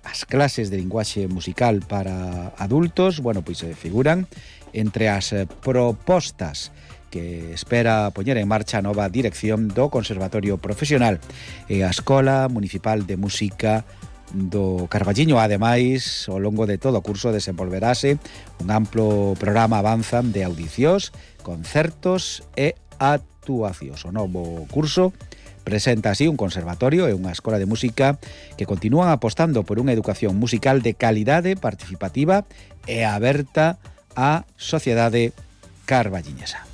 as clases de linguaxe musical para adultos, bueno, pois figuran entre as propostas que espera poñer en marcha a nova dirección do Conservatorio Profesional e a Escola Municipal de Música do Carballiño. Ademais, ao longo de todo o curso desenvolverase un amplo programa avanzan de audicións, concertos e actuacións. O novo curso presenta así un conservatorio e unha escola de música que continúan apostando por unha educación musical de calidade, participativa e aberta á sociedade carballiñesa.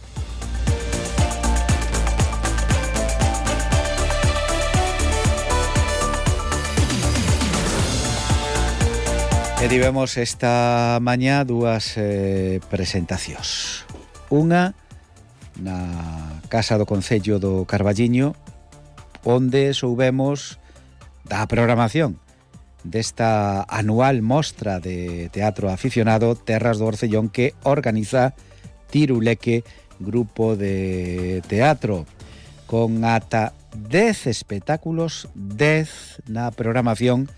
E tivemos esta mañá dúas presentacións. Unha na Casa do Concello do Carballiño, onde soubemos da programación desta anual mostra de teatro aficionado Terras do Orcellón que organiza Tiruleque Grupo de Teatro, con ata 10 espectáculos, 10 na programación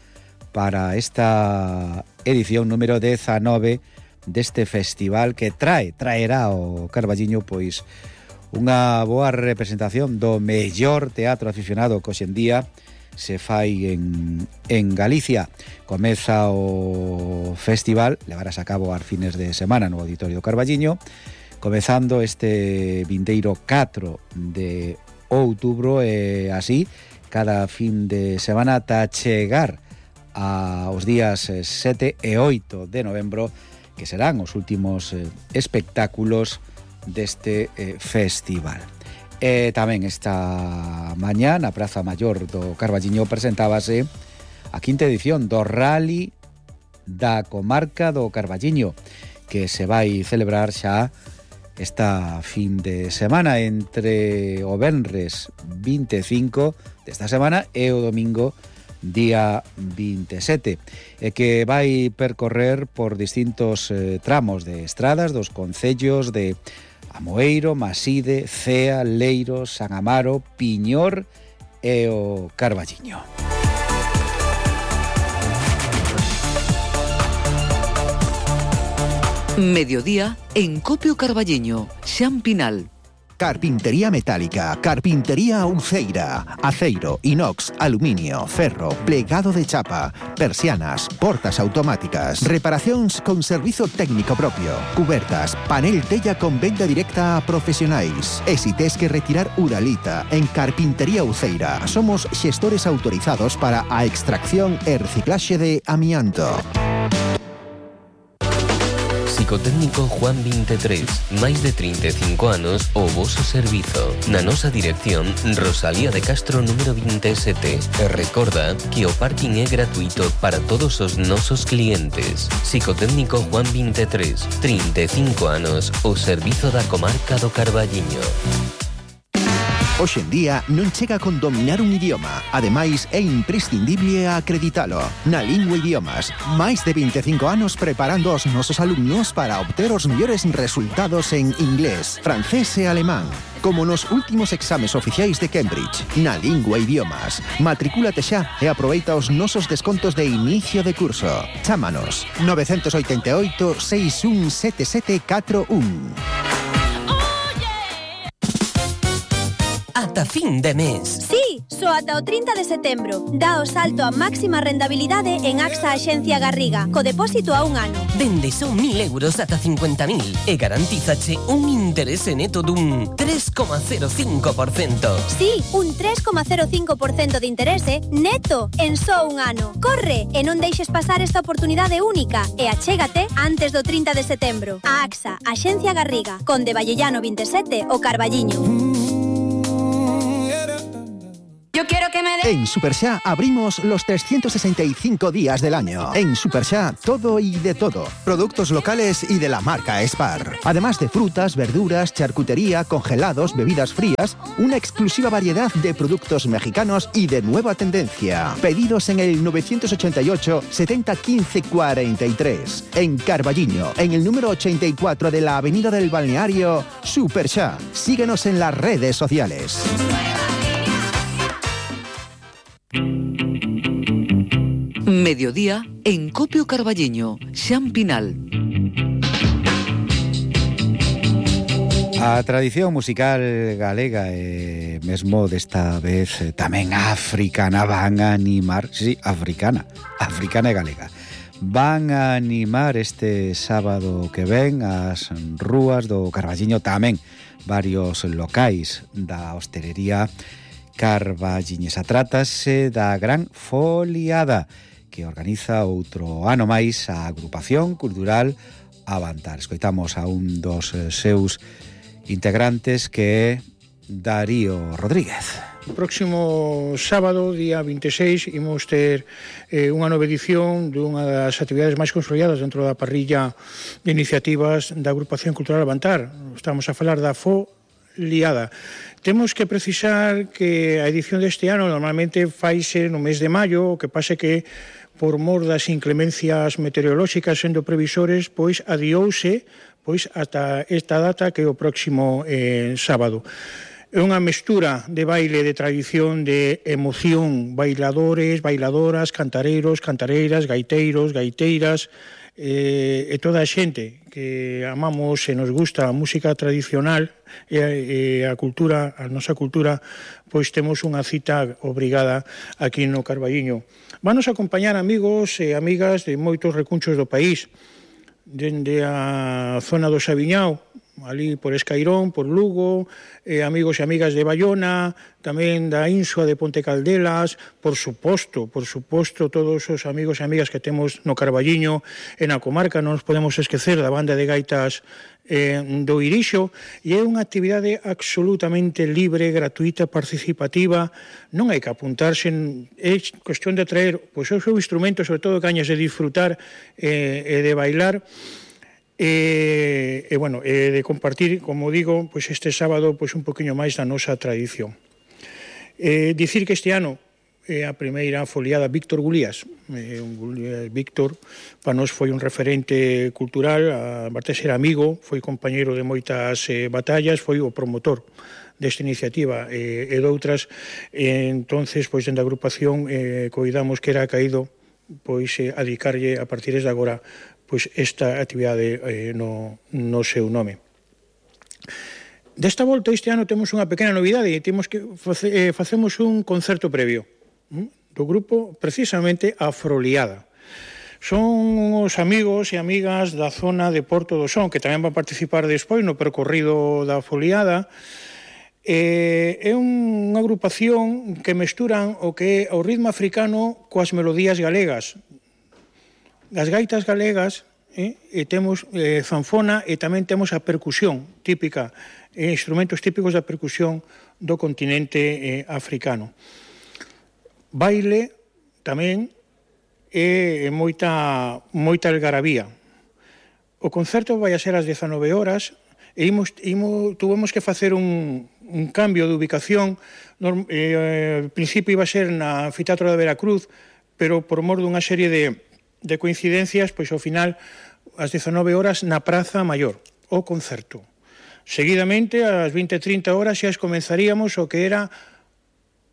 para esta edición número 19 deste festival que traerá ao Carballiño pois unha boa representación do mellor teatro aficionado que hoxe en día se fai en Galicia. Comeza o festival, levarás a cabo ás fines de semana no Auditorio do Carballiño, comezando este vindeiro 4 de outubro e así cada fin de semana ata chegar aos días 7 e 8 de novembro, que serán os últimos espectáculos deste festival. E tamén esta mañá na Praza Maior do Carballiño presentábase a quinta edición do Rally da Comarca do Carballiño, que se vai celebrar xa esta fin de semana entre o venres 25 desta semana e o domingo día 27, e que vai percorrer por distintos tramos de estradas dos concellos de Amoeiro, Maside, Cea, Leiro, San Amaro, Piñor e o Carballiño. Mediodía en Copio Carballiño, Xampinal. Carpintería metálica, carpintería Uceira, aceiro, inox, aluminio, ferro, plegado de chapa, persianas, portas automáticas, reparacións con servizo técnico propio, cubertas, panel tella con venda directa a profesionais. E si tes que retirar uralita, en Carpintería Uceira somos xestores autorizados para a extracción e reciclaxe de amianto. Psicotécnico Juan 23, máis de 35 anos o voso servizo. Na nosa dirección, Rosalía de Castro número 27. E recorda que o parking é gratuito para todos os nosos clientes. Psicotécnico Juan 23, 35 anos o servizo da comarca do Carballiño. Hoxe en día non chega con dominar un idioma. Ademais, é imprescindible acreditalo. Na Lingua Idiomas, máis de 25 anos preparando os nosos alumnos para obter os mellores resultados en inglés, francés e alemán. como nos últimos exames oficiais de Cambridge, na lingua e idiomas. Matricúlate xa e aproveita os nosos descontos de inicio de curso. Chámanos 988 617741. Ata fin de mes. Sí, só ata o 30 de setembro. Dá o salto a máxima rentabilidade en AXA Axencia Garriga, co depósito a un ano. Dende son 1.000 euros ata 50.000 e garantízache un interese neto dun 3,05%. Sí, un 3,05% de interese neto en só un ano. Corre e non deixes pasar esta oportunidade única e achégate antes do 30 de setembro. A AXA Axencia Garriga, Conde Vallellano 27 o Carballiño. Yo quiero que me En Superxá abrimos los 365 días del año. En Superxá, todo y de todo. Productos locales y de la marca Spar. Además de frutas, verduras, charcutería, congelados, bebidas frías, una exclusiva variedad de productos mexicanos y de nueva tendencia. Pedidos en el 988 70 15 43. En Carballiño, en el número 84 de la Avenida del Balneario, Superxá. Síguenos en las redes sociales. Mediodía en Copio Carballiño, Xan Pinal. A tradición musical galega e mesmo desta vez tamén africana van a animar, sí, africana e galega. Van a animar este sábado que ven as rúas do Carballiño, tamén varios locais da hostelería carballiñesa. Trátase da Gran Foliada, que organiza outro ano máis a Agrupación Cultural Avantar. Escoitamos a un dos seus integrantes, que é Darío Rodríguez. O próximo sábado, día 26, imos ter unha nova edición dunha das actividades máis consolidadas dentro da parrilla de iniciativas da Agrupación Cultural Avantar. Estamos a falar da Foliada. Temos que precisar que a edición deste ano normalmente faise no mes de maio, o que pase que por mor das inclemencias meteorolóxicas sendo previsores, pois adiouse ata esta data, que é o próximo sábado. É unha mestura de baile, de tradición, de emoción, bailadores, bailadoras, cantareiros, cantareiras, gaiteiros, gaiteiras, e toda a xente que amamos e nos gusta a música tradicional e a cultura, a nosa cultura, pois temos unha cita obrigada aquí no Carballiño. Vanos acompañar amigos e amigas de moitos recunchos do país, dende a zona do Sabiñao, ali por Escairón, por Lugo, amigos e amigas de Bayona, tamén da Insua de Ponte Caldelas, por suposto, todos os amigos e amigas que temos no Carballiño e na comarca. Non nos podemos esquecer da banda de gaitas do Irixo, e é unha actividade absolutamente libre, gratuita, participativa. Non hai que apuntarse, é cuestión de traer pois, o seu instrumento, sobre todo cañas de disfrutar e de bailar, e de compartir, como digo, pois este sábado pois un poquinho máis da nosa tradición. Dicir que este ano a primeira foliada Víctor Gulías. Víctor para nós foi un referente cultural, aparte de ser amigo, foi compañeiro de moitas batallas, foi o promotor desta iniciativa e doutras, entonces pois dende a agrupación coidamos que era caído pois a dedicarlle a partir de agora pois esta actividade no seu nome. Desta volta este ano temos unha pequena novidade, e temos que facemos un concerto previo do grupo precisamente a Foliada. Son os amigos e amigas da zona de Porto do Son, que tamén van participar despois no percorrido da Foliada. É unha agrupación que mesturan o que é o ritmo africano coas melodías galegas. As gaitas galegas, e temos zanfona, e tamén temos a percusión típica, instrumentos típicos da percusión do continente africano. Baile tamén e moita algarabía. O concerto vai a ser ás 19 horas e tuvemos que facer un cambio de ubicación. Al principio iba a ser na Anfiteatro da Veracruz, pero por mor dunha serie de coincidencias, pois ao final ás 19 horas na Praza Maior, o concerto. Seguidamente, ás 20:30 horas, xa comenzaríamos o que era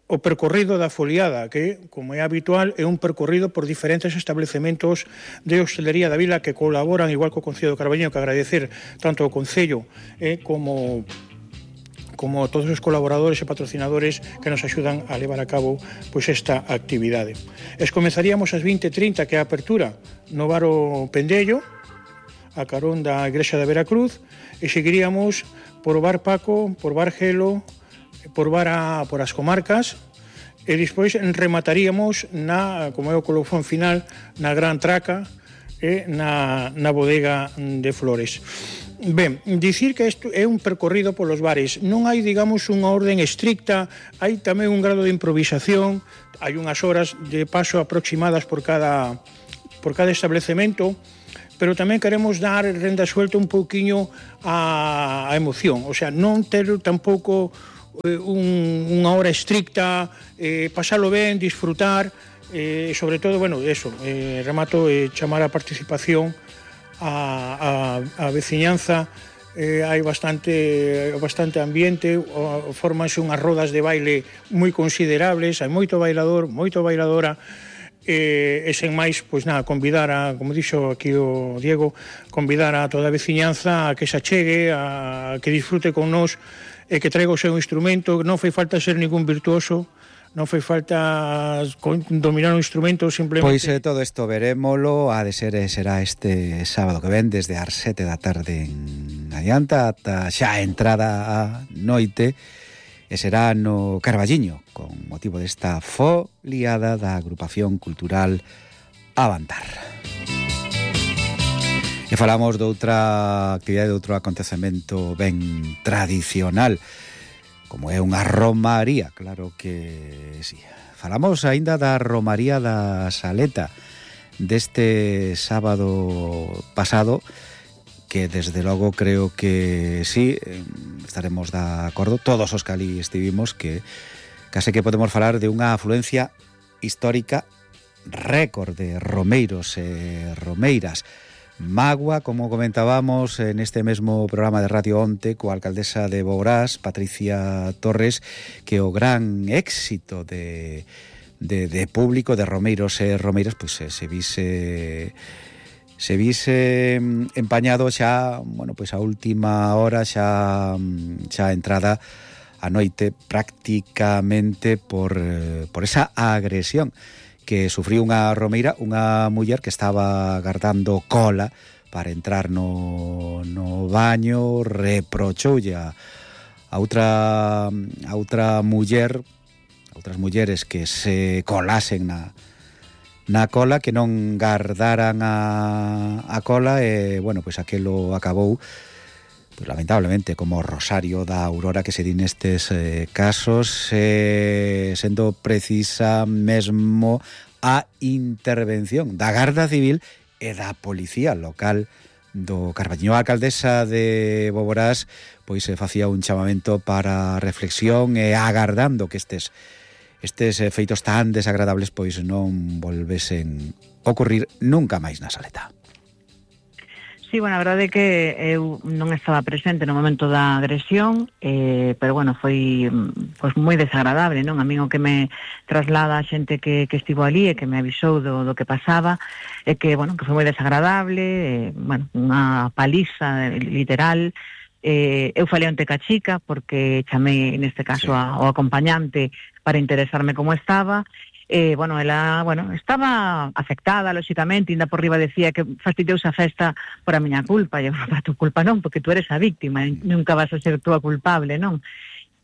o percorrido da foliada, que, como é habitual, é un percorrido por diferentes establecementos de hostelería da vila que colaboran, igual co Concello de Carballiño, que agradecer tanto ao Concello como todos os colaboradores e patrocinadores que nos axudan a levar a cabo pois esta actividade. Comenzaríamos ás 20:30, que é a apertura no bar O Pendello, a carón da Igrexa da Veracruz, e seguiríamos por o bar Paco, por bar Gelo, por as comarcas, e despois remataríamos como é o colofón final, na Gran Traca e na bodega de Flores. Ben, dicir que isto é un percorrido polos bares. Non hai, digamos, unha orden estricta, hai tamén un grado de improvisación, hai unhas horas de paso aproximadas por cada establecemento, pero tamén queremos dar renda suelta un pouquiño á emoción, o sea, non ter tampouco unha hora estricta, pasalo ben, disfrutar, sobre todo, remato chamar a participación a veciñanza. Hai bastante ambiente, formanse unhas rodas de baile moi considerables, hai moito bailador, moito bailadora, e sen máis, pois nada, convidar como dixo aquí o Diego, convidar a toda a veciñanza a que se achegue, a que disfrute con nós e que traiga o seu instrumento. Non fai falta ser ningún virtuoso, non fai falta dominar un instrumento, simplemente... Pois todo isto verémolo, será este sábado que ven, desde as 7 da tarde en adianta ata xa a entrada a noite, e será no Carballiño, con motivo desta foliada da Agrupación Cultural Avantar. E falamos de outra actividade, de outro acontecemento ben tradicional, como é unha romaría, claro que sí. Falamos aínda da romaría da Saleta deste sábado pasado, que desde logo creo que sí, estaremos de acordo, todos os que ali estivimos, que case que podemos falar de unha afluencia histórica récord de romeiros e romeiras. Magua, como comentábamos en este mesmo programa de radio onte coa alcaldesa de Boborás, Patricia Torres, que o gran éxito de público, de romeiros e romeiras, pois se vise empañado xa, pois a última hora, xa entrada a noite prácticamente por esa agresión que sufriu unha romeira, unha muller que estaba agardando cola para entrar no baño, reprochoulle a outra muller, a outras mulleres que se colasen na cola, que non gardaran a cola, e, pois aquelo acabou, pois lamentablemente, como Rosario da Aurora que se di nestes casos, sendo precisa mesmo a intervención da Garda Civil e da Policía Local do Carballiño. A alcaldesa de Boborás pois facía un chamamento para reflexión e agardando que estes feitos tan desagradables pois non volvesen ocurrir nunca máis na Saleta. Sí, a verdade é que eu non estaba presente no momento da agresión, pero foi pois moi desagradable, non? A min o que me traslada a xente que estivo ali e que me avisou do que pasaba é que, que foi moi desagradable, unha paliza literal. Eu falei onte ca chica porque chamei neste caso ao acompañante para interesarme como estaba. Ela estaba afectada, lóxicamente, ainda por riba decía que fastidiouse a festa por a miña culpa, e para tu culpa non, porque tú eres a víctima, nunca vas a ser tú a culpable, non?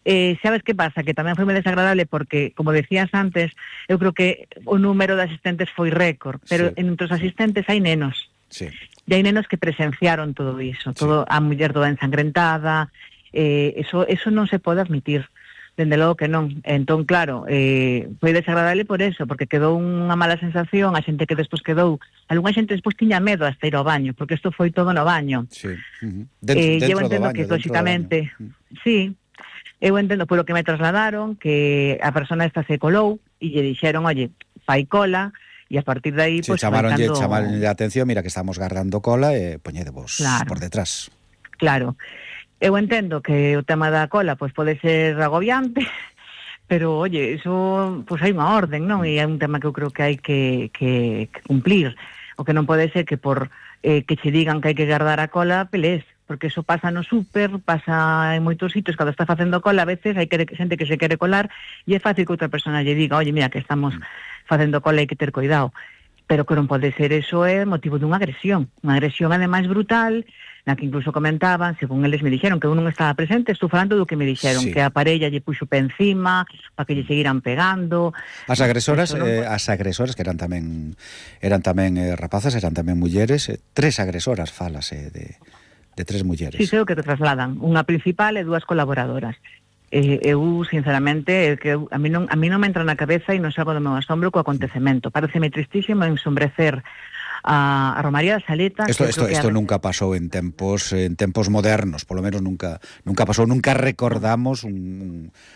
Sabes que pasa? Que tamén foi moi desagradable porque, como decías antes, eu creo que o número de asistentes foi récord, pero entre os asistentes hai nenos. Sí. E hai nenos que presenciaron todo iso, todo a muller toda ensangrentada, eso non se pode admitir. Dende logo que non. Entón, claro, foi desagradable por eso, porque quedou unha mala sensación, a xente que despois quedou, algunha xente despois tiña medo hasta ir ao baño, porque isto foi todo no baño. Sí. Eu entendo que, lóxicamente, sí, eu entendo polo que me trasladaron, que a persona esta se colou, e lle dixeron, oye, fai cola, e a partir de aí, pois, chamaronlle a atención, mira que estamos guardando cola, e poñedevos por detrás. Claro. Eu entendo que o tema da cola pois pode ser agobiante, pero, oye, eso, pois hai unha orden, non? E é un tema que eu creo que hai que cumplir. O que non pode ser que por que che digan que hai que guardar a cola, pelés, porque eso pasa no súper, pasa en moitos sitios, cando está facendo cola, a veces hai xente que se quere colar e é fácil que outra persona lle diga, oye, mira, que estamos facendo cola e hai que ter cuidado. Pero que non pode ser, eso é motivo dunha agresión ademais brutal, na que incluso comentaban, según eles me dixeron, que eu non estaba presente, estou falando do que me dixeron, Sí. que a parella lle puxo pé encima, para que lle seguiran pegando. As agresoras, Eso non que eran tamén rapazas, eran tamén mulleres, 3 agresoras falase de 3 mulleres. Sí, sei o que te trasladan, unha principal e 2 colaboradoras. Eu, sinceramente, a mí non me entra na cabeza e non saco do meu asombro co acontecemento. Pareceme tristísimo ensombrecer a Romaría da Saleta. Esto nunca pasou en tempos modernos, polo menos nunca pasou, nunca recordamos un